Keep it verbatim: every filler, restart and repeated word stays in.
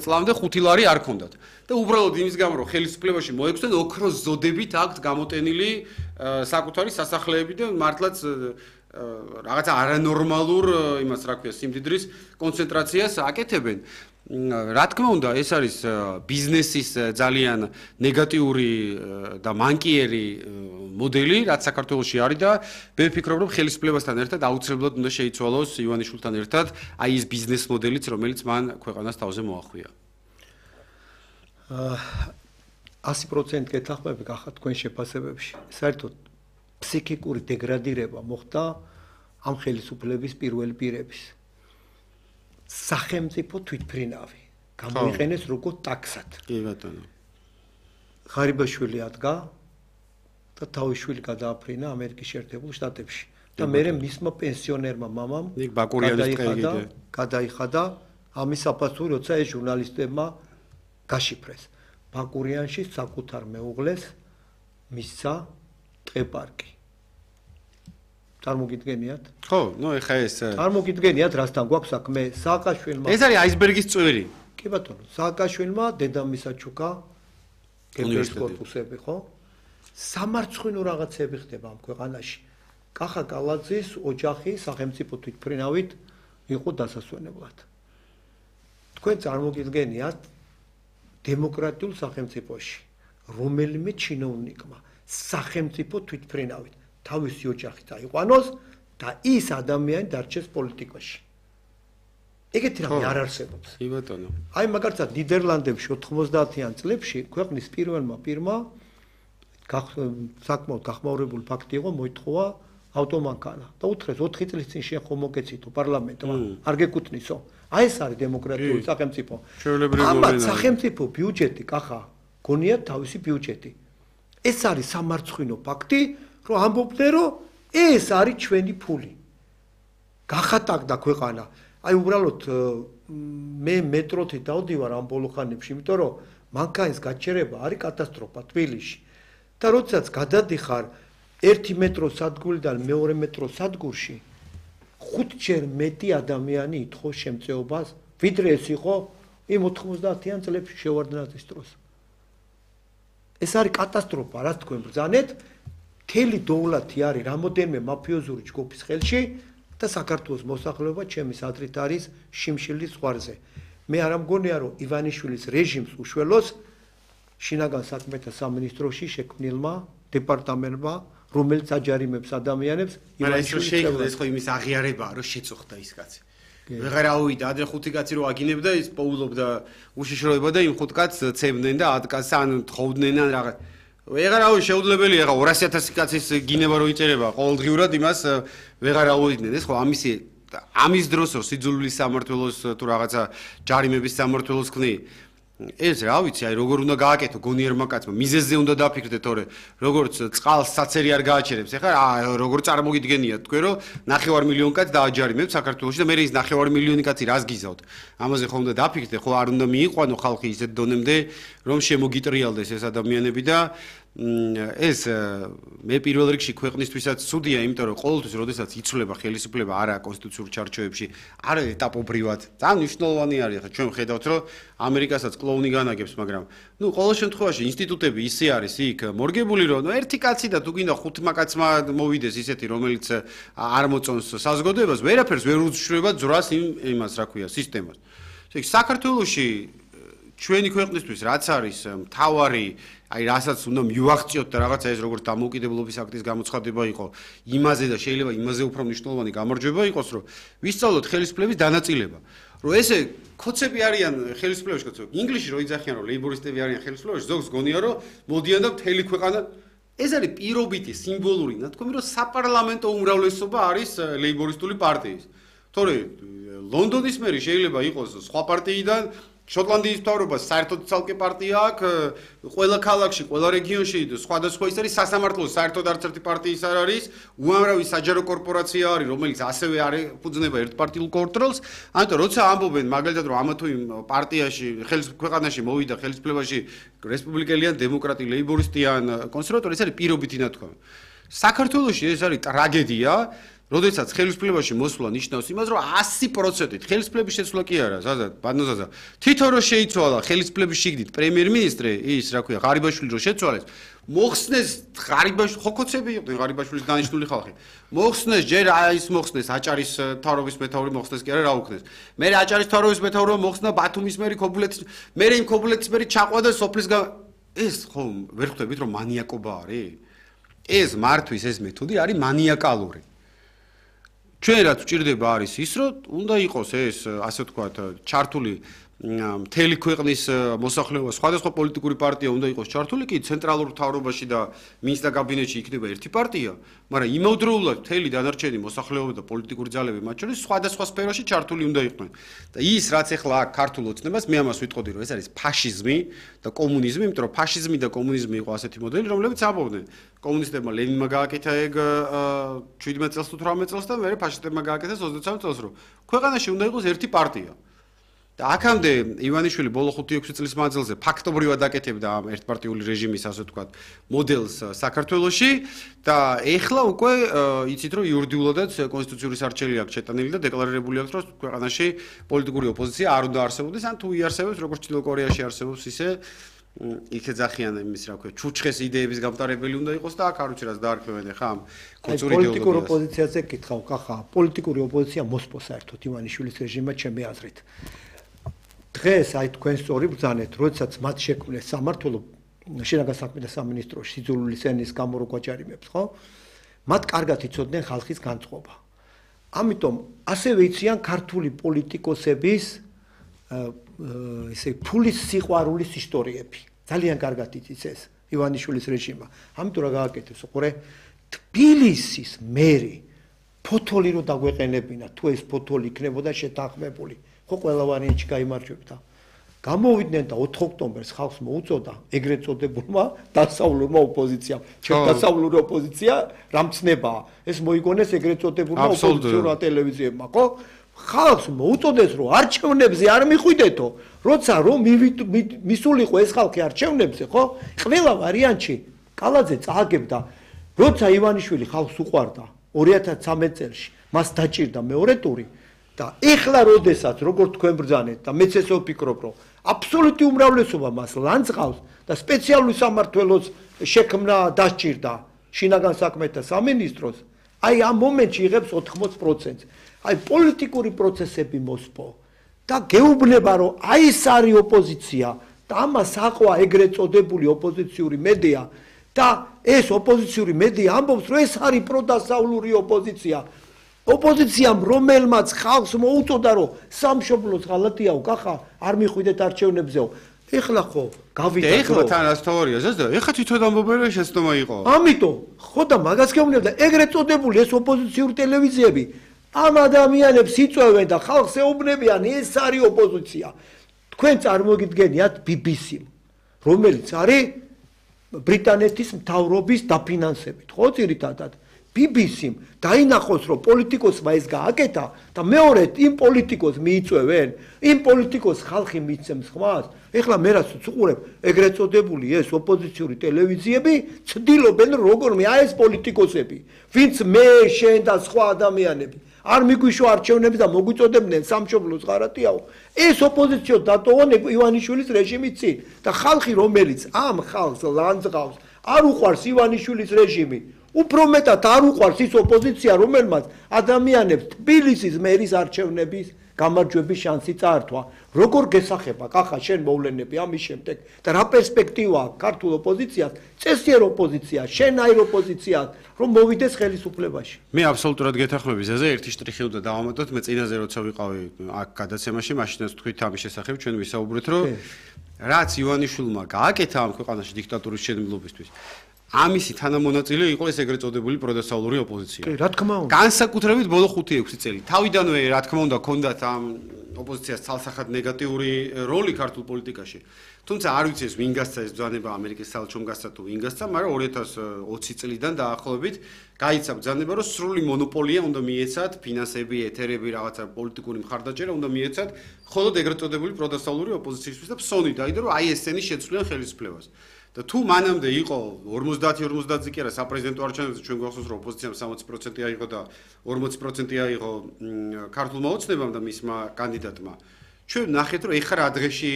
წლამდე ხუთი ლარი არ ქონდათ. და უბრალოდ იმის გამო რომ ხელისუფლებაში მოექვსდნენ ოქროს ზოდებით აქვთ გამოტენილი საკუთარი სასახლეები და მართლაც რაღაცა არანორმალურ იმას რა ქვია სიმდიდრის კონცენტრაციას აკეთებენ. რა თქმა უნდა, ეს არის ბიზნესის ძალიან ნეგატიური და მანკიერი მოდელი, რაც საქართველოში არის და მე ვფიქრობ, რომ ხელისუფლებასთან ერთად აუცილებლად უნდა შეიცვალოს ივანიშვილთან ერთად აი ეს ბიზნეს მოდელიც, რომელიც მან ქვეყანას თავზე მოახვია. ასი პროცენტი გეთანხმები გახართ თქვენ შეფასებებში. საერთოდ ფსიქიკური დეგრადირება მოხდა ამ ხელისუფლების პირველი პირების. სახელმწიფო თვითმფრინავი გამოიყენეს როგორც ტაქსად. კი ბატონო. ღარიბაშვილი ადგა და თავიშვილი გადააფრინა ამერიკის შეერთებულ შტატებში. და მერე მისმა პენსიონერმა მამამ გადაიხადა გადაიხადა ამის საფასური, როცა ეს ჟურნალისტებმა გაშიფრეს. ბაკურიანში საკუთარ მეუღლეს მისცა ტყეპარკი. წარმოგიდგენიათ? ხო, ნუ ეხა ეს წარმოგიდგენიათ, რასთან გვაქვს საქმე? სააკაშვილმა ეს არის აისბერგის წვერი. კი ბატონო, სააკაშვილმა დედამისა ჩუკა გერბის კორპუსები, ხო? სამარცხვინო რაღაცები ხდება ამ ქვეყანაში. კახა კალაძის ოჯახი სახელმწიფო თვითმფრინავით იყო დასასვენებლად. თქვენ წარმოგიდგენიათ დემოკრატიულ სახელმწიფოში რომელიმე ჩინოვნიკმა სახელმწიფო თვითმფრინავით თავისი ოჯახი დაიყვანოს და ის ადამიანი დარჩეს პოლიტიკაში. ეგეთი რამე არ არსებობს. კი ბატონო. აი მაგალითად ნიდერლანდებში ოთხმოცდაათიან წლებში ქვეყნის პირველმა პირმა საკმაოდ გახმაურებული ფაქტი იყო მოითხოვა ავტომანქანა და უთხრეს ოთხი წლის წინ შენ ხომ მოგეცითო პარლამენტმა არ გეკუთვნისო. აი ეს არის დემოკრატიული სახელმწიფო. ამათ სახელმწიფო ბიუჯეტი კახა გონიათ თავისი ბიუჯეტი. ეს არის სამარცხვინო ფაქტი, რომ ამბობდნენ, რომ ეს არის ჩვენი ფული. გახატაკდა ქვეყანა. აი უბრალოდ მე მეტროთი დავდივარ ამ ბოლო ხანებში, იმიტომ რომ მანქანის გაჩერება არის კატასტროფა თბილისში. და როდესაც გადადიხარ ერთი მეტროს სადგურიდან მეორე მეტროს სადგურში, ხუთჯერ მეტი ადამიანი ითხოვს შემწეობას, ვიდრე ეს იყო იმ ოთხმოცდაათიან წლებში შევარდნაძის დროს. ეს არის კატასტროფა, რაც თქვენ ბრძანეთ. მთელი დოვლათი არის რამოდენიმე მაფიოზური ჯგუფის ხელში და საქართველოს მოსახლეობა ჩემის აზრით არის შიმშილის ზღვარზე. მე არ მგონია, რომ ივანიშვილის რეჟიმს უშველოს შინაგან საქმეთა სამინისტროში შექმნილმა დეპარტამენტმა, რომელიც აჯარიმებს ადამიანებს ივანიშვილის შექმნა ეს ხო იმის აღიარებაა, რომ შეწუხდა ის კაცი. ვეღარ ავიდა, ადრე ხუთი კაცი რო აგინებდა, ის პოულობდა უშიშროება და იმ ხუთ კაცს ცემდნენ და ათ კაცს ან თხოვდნენ ან რაღაც. ვეღარ ავი შეუძლებელია ხო ორასი ათასი კაცის გინება რო იწერება ყოველდღიურად იმას ვეღარ ავიდნენ. ეს ხო ამისი ამის დროს რო სიძულვილის სამმართველოს თუ რაღაცა ჯარიმების სამმართველოს ხნი. ეს რა ვიცი, აი როგორ უნდა გააკეთო გონიერმა კაცმა, მიზეზზე უნდა დაფიქრდეთ, თორე როგორც წყალს საცერი არ გააჩერებს. ეხლა როგორ წარმოგიდგენიათ თქვენ, რომ ნახევარ მილიონი კაც დააჯარიმებთ საქართველოში და მე ის ნახევარ მილიონი კაცი რას გიზავთ? ამაზე ხო უნდა დაფიქრდეთ, ხო არ უნდა მიიყვანო ხალხი ისეთ დონემდე, რომ შემოგიტრიალდეს ეს ადამიანები და ეს მე პირველ რიგში ქვეყნისთვისაც ცუდია, იმიტომ რომ ყოველთვის როდესაც იცვლება ხელისუფლება არა კონსტიტუციურ ჩარჩოებში, არა ეტაპობრივად. ძალიან მნიშვნელოვანი არის, ხა ჩვენ ხედავთ, რომ ამერიკასაც კლოუნი განაგებს, მაგრამ ნუ ყოველ შემთხვევაში ინსტიტუტები ისე არის იქ მორგებული, რომ ნუ ერთი კაცი და თუ გინდა ხუთმა კაცმა მოვიდეს ისეთი, რომელიც არ მოწონს საზოგადოებას, ვერაფერს ვერ უშრება ძრას იმ იმას, რა ქვია, სისტემას. საქართველოში ჩვენი ქვეყნისთვის რაც არის მთავარი აი რასაც უნდა მივაღწიოთ და რაღაცა ეს როგორც დამოუკიდებლობის აქტის გამოცხადება იყო იმაზე და შეიძლება იმაზე უფრო მნიშვნელოვანი გამარჯვება იყოს, რომ ვისწავლოთ ხელისუფლების დანაწილება. რომ ესე კოცები არიან ხელისუფლებაში, კოცები. ინგლისში რო იძახიან, რომ ლეიბორისტები არიან ხელისუფლებაში, ზოგს გონია, რომ მოდიან და მთელი ქვეყანა ეს არის პირობითი, სიმბოლური, ნათქვამი, რომ საპარლამენტო უმრავლესობა არის ლეიბორისტული პარტიის. თორე ლონდონის მერი შეიძლება იყოს სხვა პარტიიდან შოტლანდიის მთავრობა საერთოდ ცალკე პარტია აქვს, ყველა ქალაქში, ყველა რეგიონში სხვადასხვა ის არის სასამართლო, საერთოდ არც ერთი პარტიის არ არის, უამრავი საჯარო კორპორაცია არის, რომელიც ასევე არ ეფუძნება ერთპარტიულ კონტროლს. ამიტომ როცა ამბობენ მაგალითად, რომ ამა თუ იმ პარტიაში, ქვეყანაში მოვიდა ხელისუფლებაში რესპუბლიკელი ან დემოკრატი, ლეიბორისტი ან კონსერვატორი, ეს არის პირობითი ნათქვამი. საქართველოში ეს არის ტრაგედია. როდესაც ხელისუფლებაში მოსვლა ნიშნავს იმას, რომ ასი პროცენტით ხელისუფლების შეცვლა კი არა, ზაზად, ბანოზაზა. თვითონ რო შეიცვალა ხელისუფლების შიგნით პრემიერ-მინისტრი, ის რა ქვია, ღარიბაშვილი რო შეცვალეს, მოხსნეს ღარიბაშვილი, ხოქოცები იყვნენ ღარიბაშვილის დანიშნული ხალხი. მოხსნეს ჯერ ის მოხსნეს აჭარის მთავრობის მეთაური მოხსნეს კი არა რა უქნეს. მე აჭარის მთავრობის მეთაურმა მოხსნა ბათუმის მერი ქობულეთის, მე იმ ქობულეთის მერი ჩაყვა და სოფლის ეს ხო ვერ ხვდებით რომ მანიაკობა არის? ეს მართვის ეს მეთოდი არის მანიაკალური. ჩვენ რაც ვჭირდება არის ის, რომ უნდა იყოს ეს, ასე ვთქვათ, ჩართული მთელი ქვეყნის მოსახლეობა, სხვადასხვა პოლიტიკური პარტია უნდა იყოს ჩართული, კი ცენტრალურ მთავრობაში და მინისტრთა კაბინეტში იქნება ერთი პარტია, მაგრამ იმავდროულად მთელი დანარჩენი მოსახლეობა და პოლიტიკური ძალები მათ შორის სხვადასხვა სფეროში ჩართული უნდა იყვნენ. და ის რაც ახლა აქ ქართულ ოცნებას, მე ამას ვიტყოდი, რომ ეს არის ფაშიზმი და კომუნიზმი, იმიტომ რომ ფაშიზმი და კომუნიზმი იყო ასეთი მოდელი, რომლებიც ამბობდნენ. კომუნისტებმა ლენინმა გააკეთა ეგ შვიდმეტ წელს თუ თვრამეტ წელს და მერე ფაშისტებმა გააკეთეს ოცდათსამი წელს, რომ ქვეყანაში უნდა იყოს ერთი პარტია. და აქამდე ივანიშვილი ბოლო ხუთი ექვსი წლის მანძილზე ფაქტობრივად აკეთებდა ამ ერთპარტიული რეჟიმის, ასე ვთქვათ, მოდელს საქართველოში და ეხლა უკვე იცით რომ იურიდიულადაც კონსტიტუციური სარჩელი აქვს შეტანილი და დეკლარირებული აქვს რომ ქვეყანაში პოლიტიკური ოპოზიცია არ უნდა არსებობდეს, ან თუ იარსებებს, როგორც ჩრდილო კორეაში არსებობს ისე იქეძახიან იმის რა ქვია, ჩუჩხეს იდეების გამტარებელი უნდა იყოს და აქ არ ვიცი რაც დაარქმევენ ახლა ამ კულტურის პოლიტიკურ ოპოზიციაზე გითხავ, კახა, პოლიტიკური ოპოზიცია მოსპოს საერთოდ ივანიშვილის რეჟიმმა ჩემი აზრით. დღეს აი თქვენ სწორი ბრძანეთ, როდესაც მათ შექმნეს სამმართველო შინაგან საქმეთა სამინისტროში სიძულვილის ენის გამოროკვაჭარიმებს, ხო? მათ კარგად იცოდნენ ხალხის განწყობა. ამიტომ ასევე იციან ქართული პოლიტიკოსების ესე ფულის სიყვარულის ისტორიები. ძალიან კარგად იცის ეს ივანიშვილის რეჟიმმა. ამიტომ რა გააკეთეს, უყურე, თბილისის მერი ფოთოლი რო დაგვეყენებინა, თუ ეს ფოთოლი იქნებოდა შეთანხმებული. ხო ყველა ვარიანტი გაიმარჯვებდა. გამოვიდნენ და ოთხ ოქტომბერს ხალხს მოუწოდა ეგრეთ წოდებულმა დასავლურმა ოპოზიციამ. ჩვენ დასავლური ოპოზიცია რამცნებაა. ეს მოიგონეს ეგრეთ წოდებულმა ოპოზიციურმა ტელევიზიებმა, ხო? ხალხს მოუწოდეს რომ არჩევნებზე არ მიხვიდეთო, როცა რომ მისულიყო ეს ხალხი არჩევნებზე, ხო? ყველა ვარიანტში კალაძე წააგებდა, როცა ივანიშვილი ხალხს უყვარდა ორი ათას ცხრამეტ წელს, მას დაჭირდა მეორე ტური და ეხლა როდესაც როგორც თქვენ ბრძანეთ და მეც ესე ვფიქრობ, რომ აბსოლუტური უმრავლესობა მას ლანძღავს და სპეციალური სამმართველოს შექმნა დასჭირდა შინაგან საქმეთა სამინისტროს, აი ამ მომენტში იღებს ოთხმოც პროცენტს. აი პოლიტიკური პროცესები მოსპო და გეუბნება რომ აი ეს არის ოპოზიცია და ამას აყვა ეგრეთ წოდებული ოპოზიციური მედია და ეს ოპოზიციური მედია ამბობს რომ ეს არის პროდასავლური ოპოზიცია. ოპოზიციამ რომელმაც ხალხს მოუწოდა რომ სამშობლოს ღალატიაო, კახა არ მიხვიდეთ არჩევნებზეო. ეხლა ხო გავიდა ეხლა თან რას თეორია ზესდა ეხლა თვითონ ამბობენ რომ შეცდომა იყო. ამიტომ ხო და მაგას გეუბნებდა ეგრეთ წოდებული ეს ოპოზიციური ტელევიზიები ამ ადამიანებს იწვევენ და ხალხს ეუბნებიან ეს არის ოპოზიცია. თქვენ წარმოგიდგენიათ ბი ბი სი-მ, რომელიც არის ბრიტანეთის მთავრობის დაფინანსებით, ხო ძირითადად. ბი ბი სი-მ დაინახოს რომ პოლიტიკოსმა ეს გააკეთა და მეორედ იმ პოლიტიკოს მიიწვევენ, იმ პოლიტიკოს ხალხი მიცემს ხმას. ეხლა მე რაც ვუყურებ, ეგრეთ წოდებული ეს ოპოზიციური ტელევიზიები ცდილობენ როგორმე აი ეს პოლიტიკოსები, ვინც მე, შენ და სხვა ადამიანები არ მიგვიშვა არჩევნები და მოგვიწოდებდნენ სამშობლოს ღარატიაო. ეს ოპოზიციო დატოვონ ივანიშვილის რეჟიმის წინ და ხალხი რომელიც ამ ხალხს ლანძღავს, არ უყვარს ივანიშვილის რეჟიმი. უფრო მეტად არ უყვარს ის ოპოზიცია, რომელმაც ადამიანებს თბილისის მერის არჩევნების გამარჯვების შანსი წაართვა. როგორ გესახება, კახა, შენ მოვლენები ამის შემდეგ და რა პერსპექტივა აქვს ქართულ ოპოზიციას, წესიერ ოპოზიციას, შენაირ ოპოზიციას, რომ მოვიდეს ხელისუფლებაში. მე აბსოლუტურად გეთანხმები ზეზე, ერთი შტრიხი უნდა დავამატოთ, მე წინაზე როცა ვიყავი აქ გადაცემაში, მაშინაც თქვით ამის შესახებ, ჩვენ ვისაუბრეთ, რომ რაც ივანიშვილმა გააკეთა ამ ქვეყანაში დიქტატურის შენებლობისთვის, ამისი თანამონაწილე იყო ეს ეგრეთ წოდებული პროდასავლური ოპოზიცია. კი, რა თქმა უნდა. განსაკუთრებით ბოლო ხუთი ექვსი წელი. თავიდანვე რა თქმა უნდა ჰქონდათ ამ ოპოზიციას ცალსახად ნეგატიური როლი ქართულ პოლიტიკაში. თუმცა არ ვიცი ეს ვინ გასცა ეს ბრძანება ამერიკის საელჩომ გასცა თუ ვინ გასცა, მაგრამ ორი ათას ოცი წლიდან დაახლოებით გაიცა ბრძანება, რომ სრული მონოპოლია უნდა მიეცათ ფინანსები, ეთერები, რაღაცა პოლიტიკური მხარდაჭერა უნდა მიეცათ მხოლოდ ეგრეთ წოდებული პროდასავლური ოპოზიციისთვის და ფსონი დაიდო, რომ აი ესენი შეცვლიან ხელისუფლებას. და თუ მანამდე იყო ორმოცდაათი ორმოცდაათზე კი არა საპრეზიდენტო არჩევნებზე ჩვენ გვახსოვს რომ ოპოზიციამ სამოცი პროცენტი აიღო და ორმოცი პროცენტი აიღო ქართულმა ოცნებამ და მისმა კანდიდატმა ჩვენ ნახეთ რომ ეხლა რა დღეში